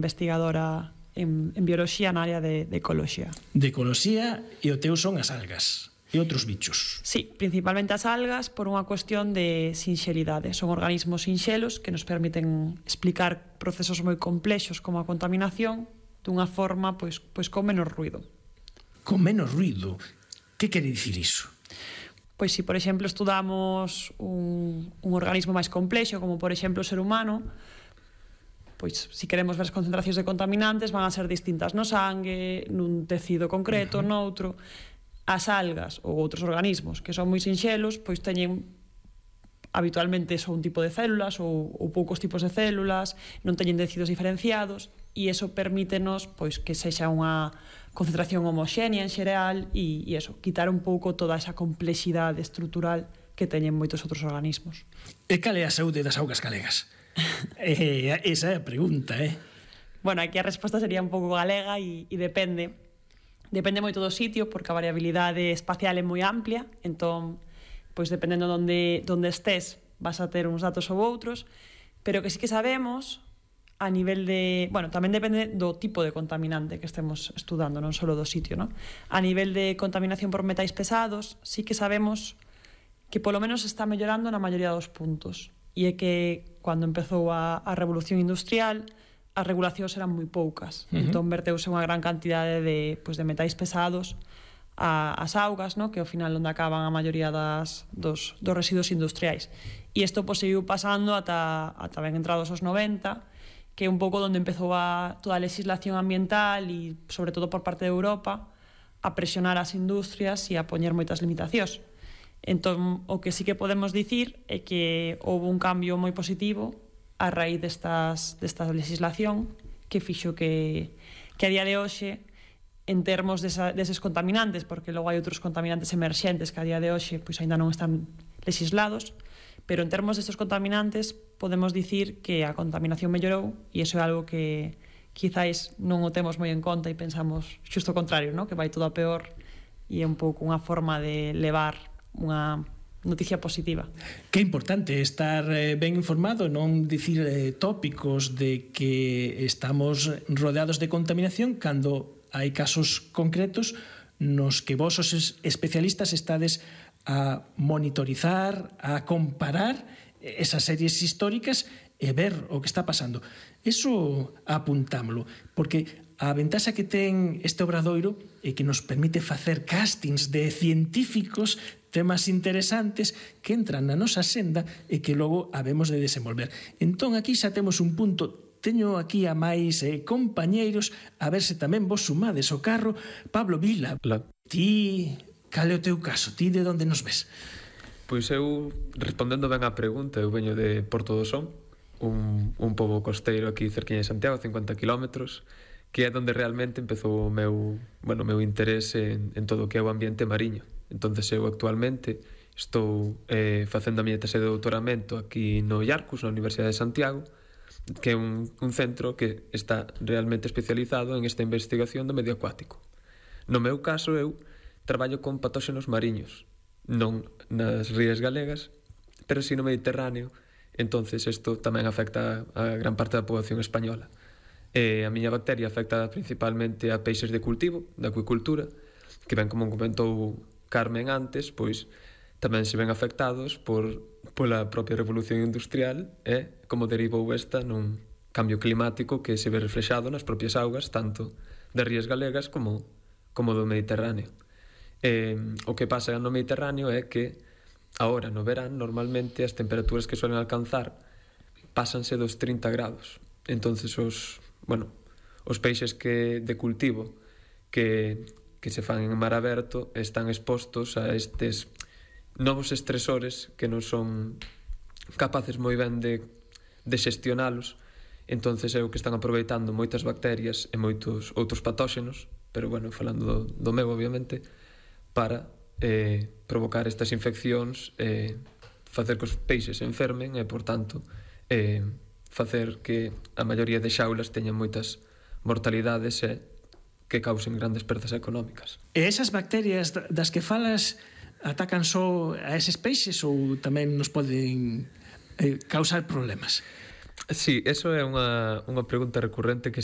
investigadora en bioloxía na área de ecoloxía. De ecoloxía, e o teu son as algas e outros bichos. Sí, principalmente as algas por unha cuestión de sinxelidade. Son organismos sinxelos que nos permiten explicar procesos moi complexos como a contaminación dunha forma pois con menos ruido. Con menos ruido? Que quere dicir iso? Pois se, por exemplo, estudamos un organismo máis complexo, como por exemplo o ser humano, pois se queremos ver as concentracións de contaminantes van a ser distintas no sangue, nun tecido concreto, noutro. As algas ou outros organismos que son moi sinxelos, pois teñen habitualmente só un tipo de células ou poucos tipos de células, non teñen tecidos diferenciados, e iso permítenos pois que sexa unha concentración homoxénea en xeral e iso, quitar un pouco toda esa complexidade estrutural que teñen moitos outros organismos. E cal é a saúde das augas galegas? Esa é a pregunta, Bueno, aquí a resposta sería un pouco galega e depende moito do sitio, porque a variabilidade espacial é moi amplia, entón, pois dependendo onde estés, vas a ter uns datos ou outros, pero que sí que sabemos a nivel de... Bueno, tamén depende do tipo de contaminante que estemos estudando, non só do sitio, non? A nivel de contaminación por metais pesados, sí que sabemos que polo menos está mellorando na maioría dos puntos, e é que cando empezou a revolución industrial, as regulacións eran moi poucas. Entón verteuse unha gran cantidade de metais pesados ás augas, no? Que ao final onde acaban a maioría dos residuos industriais. E isto seguiu pasando ata ben entrados os 90, que é un pouco onde empezou toda a legislación ambiental e, sobre todo por parte de Europa, a presionar as industrias e a poñer moitas limitacións. Entón, o que sí que podemos dicir é que houve un cambio moi positivo a raíz desta legislación que fixo que a día de hoxe, en termos deses contaminantes, porque logo hai outros contaminantes emerxentes que a día de hoxe pois aínda non están legislados, pero en termos destes contaminantes podemos dicir que a contaminación mellorou, e iso é algo que quizáis non o temos moi en conta e pensamos xusto o contrario, ¿no? Que vai todo a peor, e é un pouco unha forma de levar unha noticia positiva. Que é importante estar ben informado, non dicir tópicos de que estamos rodeados de contaminación cando hai casos concretos nos que vos os especialistas estades a monitorizar, a comparar esas series históricas e ver o que está pasando. Eso apuntámoslo, porque a ventaxa que ten este obradoiro é que nos permite facer castings de científicos, temas interesantes que entran na nosa senda e que logo habemos de desenvolver. Entón, aquí xa temos un punto. Teño aquí a máis compañeiros, a ver se tamén vos sumades o carro. Pablo Vila, ti, cal é o teu caso? Ti de onde nos ves? Pois eu, respondendo ben á pregunta, eu veño de Porto do Son, un pobo costeiro aquí cerquiña de Santiago, 50 kilómetros, que é onde realmente empezou o meu interese en todo o que é o ambiente mariño. Entonces eu actualmente estou facendo a miña tese de doutoramento aquí no IARCUS, na Universidade de Santiago, que é un centro que está realmente especializado en esta investigación do medio acuático. No meu caso, eu traballo con patóxenos mariños, non nas rías galegas, pero si no Mediterráneo. Entonces isto tamén afecta a gran parte da poboación española. A miña bacteria afecta principalmente a peixes de cultivo, da acuicultura, que ben como comentou Carmen antes, pois tamén se ven afectados pola propia revolución industrial e como derivou esta nun cambio climático que se ve reflexado nas propias augas, tanto das rías galegas como do Mediterráneo. O que pasa no Mediterráneo é que agora no verán normalmente as temperaturas que suelen alcanzar pásanse dos 30 grados. Entonces os peixes de cultivo que se fan en mar aberto están expostos a estes novos estresores que non son capaces moi ben de xestionalos. Entonces é o que están aproveitando moitas bacterias e moitos outros patóxenos, pero falando do meu obviamente, para provocar estas infeccións, facer que os peixes se enfermen e, por tanto, facer que a maioría de xaulas teñan moitas mortalidades e que causen grandes perdas económicas. E esas bacterias das que falas atacan só a eses peixes ou tamén nos poden causar problemas? Sí, eso é unha pregunta recurrente que